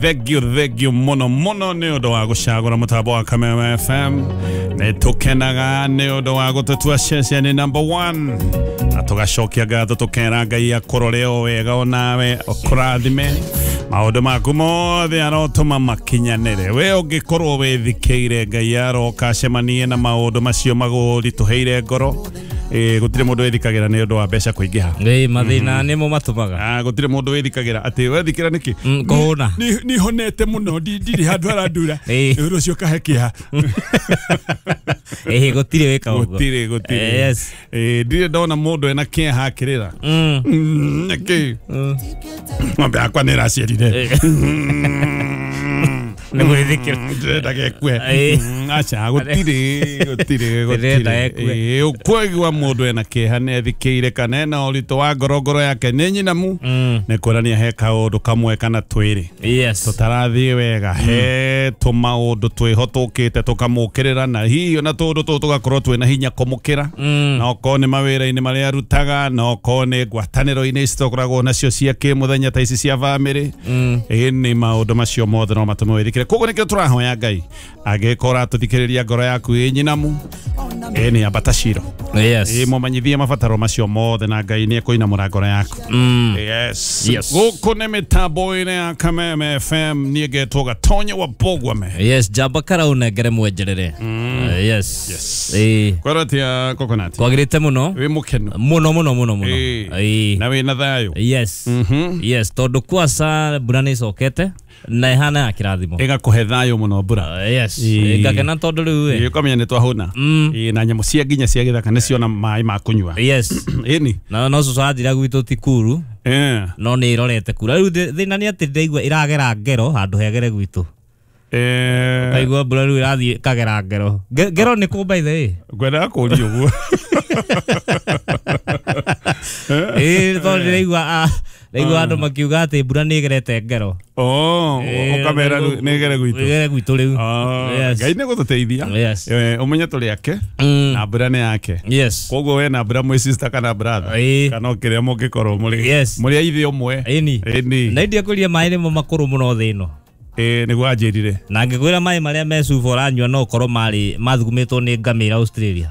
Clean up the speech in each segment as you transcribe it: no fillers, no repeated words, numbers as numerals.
Thank you muno muno nĩ ũndũ wa gũcagũra mũtambo wa Kameme FM. Nĩ tũkenaga nĩ ũndũ wa gũtũtua ceceni number 1 na tũgacokia ngatho tũkera Ngai akũrore o wega onawe ũkũrathime maũndũ maku mothe arotũma makinyanĩre. We ũngĩkorwo wĩthikĩire Ngai aroka acemanie na maũndũ macio magũritũhĩire ngoro. Gũtirĩ mũndũ wĩthikagĩra nĩ ũndũ wa mbeca kũingĩha. Mathĩna nĩmo matũmaga. Gũtirĩ mũndũ wĩthikagĩra atĩ wethikĩra nĩkĩ? Kũhũna. Ni honete mũno ndirĩ handũ harandura. Ũndũ ũcio ũkahe kĩeha. Gũtirĩ wĩka ũguo. Gũtirĩ. Yes. Ndirĩ ndona mũndũ ena kĩeha akĩrĩra. Nĩkĩ? Ng'ombe yakwa nĩ ĩraciarire. Nĩ gwĩthikĩra. Ndĩrenda gekue. Aca gũtirĩ. Ũkwaigua mũndũ ena kĩeha nĩ ethikĩire kana ena ũritũ wa ngoro ngoro yake nĩ nyinamu. Nĩ kuonania he kaũndũ kamwe kana twĩrĩ. Yes. Tũtarathiĩ wega. He tũmaũndũ twĩho tũkĩte tũkamũkĩrĩra na hihi ona tũũndũ tũtũ tũgakorwo twĩna hinya kũmũkĩra. Na okorwo nĩ mawĩra-inĩ marĩa arutaga, na okorwo nĩ ngwatanĩro-inĩ ici tũkoragwo nacio cia kĩmũthenya ta ici cia bamĩrĩ. Ĩĩ nĩ maũndũ macio mothe no matũme wĩthikĩre. Koguo nĩkĩo tũrahoya Ngai angĩkorwo ũratũthikĩrĩria ngoro yaku ĩ nyinamu, ĩ nĩ ambata ciro. Yes. Ĩ mũmenyithie mabataro macio mothe na Ngai nĩ ekũinamũra ngoro yaku. Yes. Yes. Gũkũ nĩ mĩtambo-inĩ ya Kameme FM niĩ ngetwo Gatonye wa Bogwame. Yes, njamba karaũnengere mwenjerere. Yes. Yes. Ĩ. Kwĩrwo atĩa Coconut? Kwagĩrĩte mũno. Wĩ mũkenu. Mũno mũno mũno mũno. Ĩ. Na wĩna thayũ. Yes. Yes, tondũ kwasa mbura nĩ ĩcokete na ĩhana ya kĩrathimo. Ĩgakũhe thayũ mũno mbura. Yes. Ĩ. Ngakena tondũ rĩu ĩ. Ũkamenya nĩ twahũna. Ĩ, na nyamũ cia nginya cia gĩthaka nĩ ciona maĩ ma kũnyua. Yes. Ĩni. Na no cũcũ anjĩra gwitũ ti kuru. No nĩ ĩrorete kura. Rĩu thĩna nĩ atĩ ndĩraigua ĩragera ngero handũ hegere gwitũ. Kaigua mbura rĩu ĩrathiĩ ĩkagera ngero. Ngero nĩ kũ by the way? Ngwendaga kũũria ũguo. Ĩ, tondũ ndĩraigua ndaigua andũ makiuga atĩ mbura nĩ ĩgerete ngero. Ũkamera nĩ ĩgere gwitũ. Ĩgere gwitũ rĩu. Yes. Ngai nĩ gũtũteithia. Yes. Ũmenye tũrĩ ake na mbura nĩ yake. Yes. Koguo we na mbura mwĩ sister kana brother. Kana o kĩrĩa mũngĩkorwo mũrĩ. Yes. Mũrĩ a ithe ũmwe. Ĩni. Ĩni. Na ndiakwĩrire maĩ nĩmo makũrũ mũno thĩ ĩno. Nĩguo anjĩrire. Na ngĩkwĩra maĩ marĩa me cuba ũranyua no ũkorwo marĩ mathugumĩtwo nĩ ngamĩra Australia.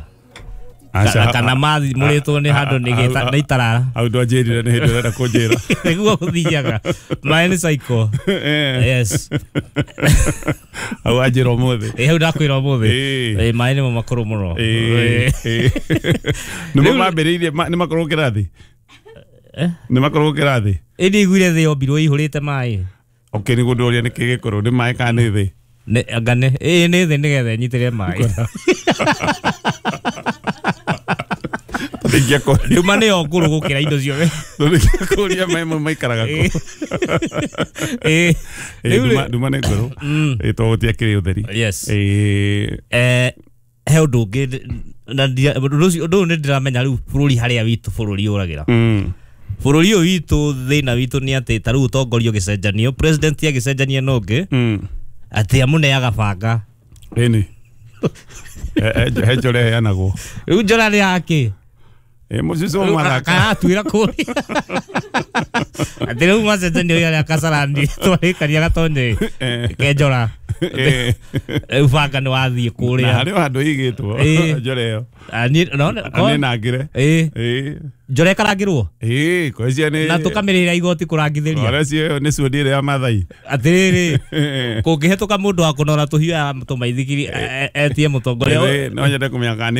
Kana mathimũrĩtwo nĩ handũ nĩ itarara. Hau ndwanjĩrire nĩ hĩndĩ ũrenda kũnjĩra. Nĩguo gũthiaga. Maĩ nĩ cycle. Yes. Hau wanjĩra ũmũthĩ. Hau ndakwĩra ũmũthĩ. Maĩ nĩmo makũrũ mũno. Nĩmo mambĩrĩirie nĩ makorwo kĩrathi? Nĩ makorwo kĩrathi? Ĩ ndiaiguire thĩ yombirwo ĩihũrĩte maĩ. Okay, nĩguo ndũria nĩkĩ gĩkũrũ nĩ maĩ kana nĩ thĩ? Anga nĩ nĩ thĩ nĩgetha ĩnyitĩre maĩ. Nduma nĩyo ngũrũ gũkĩra indo ciothe. Tũngĩakũria maĩ mau maikaraga kũ? Nduma nĩ ngũrũ. Tondũ gũtiakĩrĩ ũtheri. Yes. He ũndũ ũngĩ na ũndũ ũyũ nĩ ndĩramenya rĩu bũrũri harĩa witũ bũrũri ũragĩra. Bũrũri ũyũ witũ thĩna witũ nĩ atĩ ta rĩu ũtongoria ũgĩcenjanio, president agĩcenjania na ũngĩ, atĩ amũneaga banga. Ĩni. He njora ĩheanagwo. Rĩu njora nĩ yakĩ? Mũcicio mathaka. Karatuĩra kũrĩa. Atĩ rĩu macenjanio arĩa Kasarani twarĩkaria Gatonye ke njora. Rĩu banga nĩ wathiĩ kũrĩa. Na harĩ o handũ ĩigĩtwo njora ĩyo. Nĩ nangĩre. Njora ĩkarangĩrwo? Kwĩcia nĩ Na tũkamĩrĩhĩra igoti kũrangithĩria. Kwĩcia nĩ cundi ĩrĩa ya Maathai. Atĩrĩrĩ, kũngĩhetũka mũndũ wa kũnora tũhiũ ya tũmaithikiri etie mũtongoria. No nyende kũmenya kana nĩ